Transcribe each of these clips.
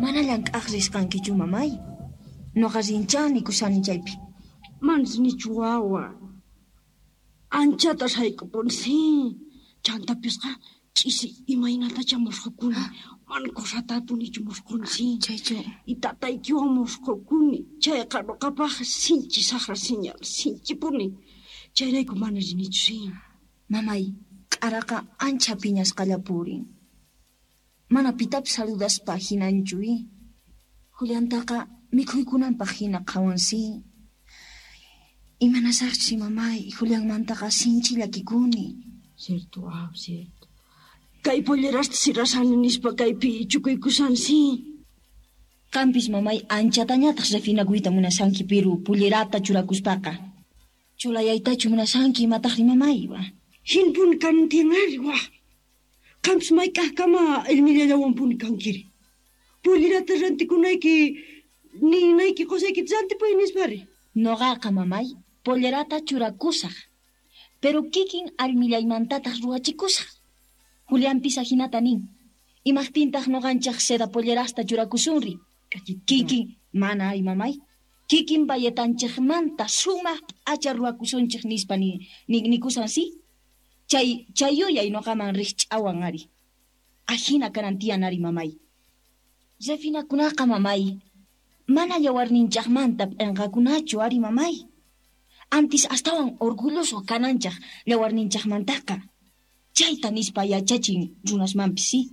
Mana llank'aj risqankichu, mamay. Noqa rinchá nikushani chaypi. Manas nichu wawa. Anchata sayk'upuni, sí. Chantapisqa ch'isi imaynatacha mosqokuni. Mana cosatapunichu mosqoni, sí. Chaychu. Y tataykiwan mosqokuni. Chayqa noqapaj sinchi sajra señal, sinchipuni. Chayrayku mana rinichu, sí. Mamay, k'araqa ancha phiñasqalla purin. Mana pitapis saludaspa hinanchu, i. Juliantaqa mikhuykunanpaj hina qhawan, sí. Imanasaqchus, mamay, Julianmantaqa sinchi llakikuni. Cierto, waw, cierto. Kay pollerasta sirasani nispa kaypi chukuykushan, sí. Qampis, mamay, anchatañataq refinakuyta munashanki, piru pullerata churakuspaqa. Chulayaytachu munashanki imataqri, mamay, wa. Hinpuni kanan tiyan ari, wa. Qampis mayk'ajkama allmillallawanpuni kankiri. Pollerata rantikunayki ninayki qosaykita rantipuy nispari. Noqaqa, mamay, pollerata churakusaj, pero kikin allmillaymantataq ruwachikusaj. Julianpis ajinata nin. Imajtintaq noqanchej seda pollerasta churakusunri. Kikin, mana ari, mamay. Kikin bayetanchejmanta sumaj p'acha ruwakusunchej nispa nikusan, sí. Chay chay yuyay noqaman rijch'awan ari. Ajina kanan tiyan ari, mamay. Refinakunaqa, mamay, mana yawarninchejmanta p'enqakunachu ari, mamay. Antis astawan orgulloso kananchej yawarninchejmantaqa. Chayta nispa yachachin runasmanpis, sí.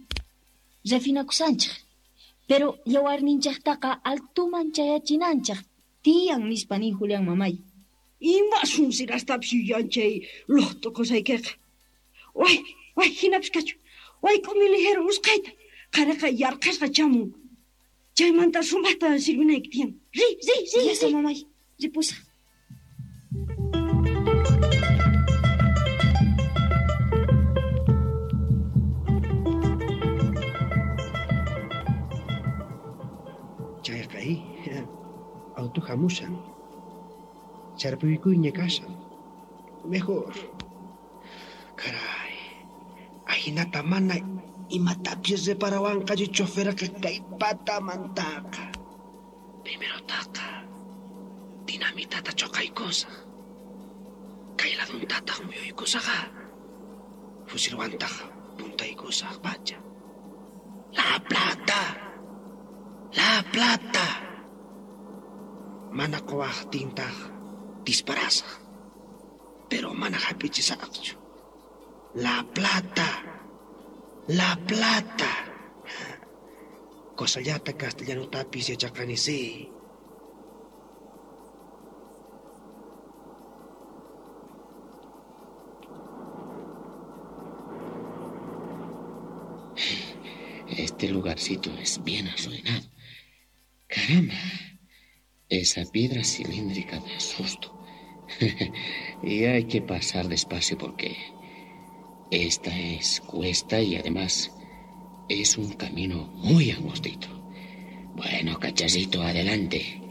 Refinakusanchej, pero yawarninchejtaqa altuman chayachinanchej tiyan nispa nin Julián, mamay. Ima sunsirastapis yuyan chay lojto qosaykeqa. Way, way, hinapis kachu. Wayk'umi ligero usqhayta. Qhariqa yarqhasqa chamun. Chaymanta sumajta sirvinayki tiyan. Riy, riy, riy, Ya está, riy. mamay, ripusaj. Chayqa i auto hamushan. Charpuykuyña kashan. Mejor. Caray. Ajinata mana imatapis reparawanqachu choferqa kay patamantaqa. Primerotaqa dinamitata choqaykusaj. Kay laduntataq muyuykusaqa. Fusilwantaq puntaykusaj pacha. La plata. La plata. Mana quwaqtintaq disparasaj. Pero mana hap'ichisaqchu. La plata. La plata. Cosallata castellanotapis yachaqani, sí. Este lugarcito es bien arruinado. Caramba, esa piedra cilíndrica da susto. Y hay que pasar despacio porque esta es cuesta y además es un camino muy angostito. Bueno, cacharrito, adelante.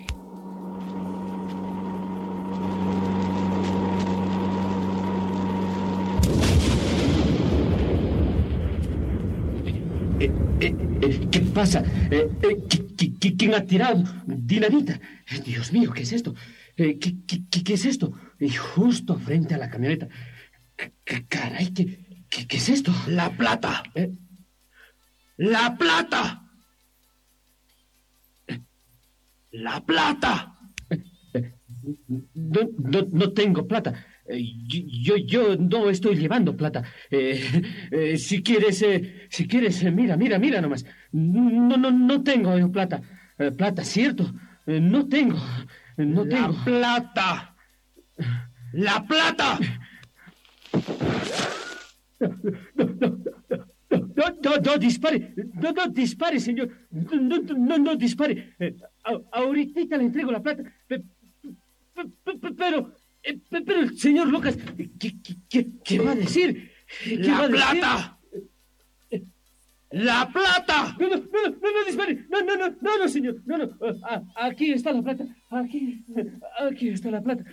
¿Qué pasa? ¿Quién ha tirado dinamita? Dios mío, ¿qué es esto? ¿Qué es esto? Y justo frente a la camioneta. Caray, ¿qué es esto? ¡La plata! ¡La plata! ¡La plata! No, no, no tengo plata. Yo no estoy llevando plata. Si quieres, mira, mira, mira nomás. No, no, no tengo yo plata. Plata, cierto. No tengo. No ¡La tengo. plata! ¡La plata! No, no, no, no, no dispare. No, no dispare, señor. No, no, no, no dispare. Ahorita le entrego la plata. Pero el señor Lucas, ¿qué va a decir? ¿Qué ¡La va a decir? plata! ¡La plata! No, no, no, no, no dispare. No, no, no, no, no, señor. No, no. Aquí está la plata. Aquí está la plata.